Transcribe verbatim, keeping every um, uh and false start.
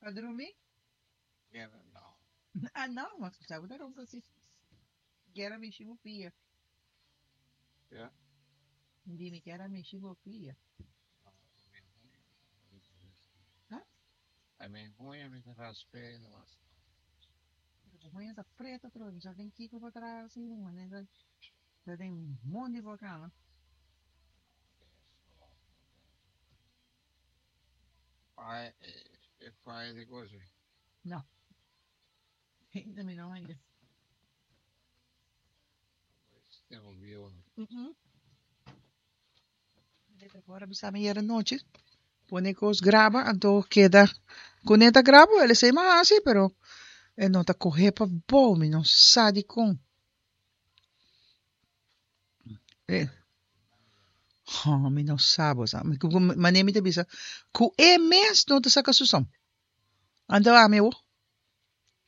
Pa drumi? Guera no. Ah, no, ma sabe da ronca si. Guera mi shibo pia. Ja? Di mi guera mi shibo pia. Ha? I mean, huña mi ta rasp'é nomás. Pero huña ta preto trobe, mi sa den kiko pa traha asina, manera ta den mondi por cama. Pai, e pai di così. No. Ainda mi no haya. Tengo bieu. Mm-mm. Ora bisa mi yera nochi, pone cos graba, anto keda kuné ta graba, el esei m'a hasi, pero e no ta kohe pa bou, mi no sa dikon. E, oh, mi no sa bo sa. Manera mi ta bisa, ku e mes no ta saka su som. Anto ami awo.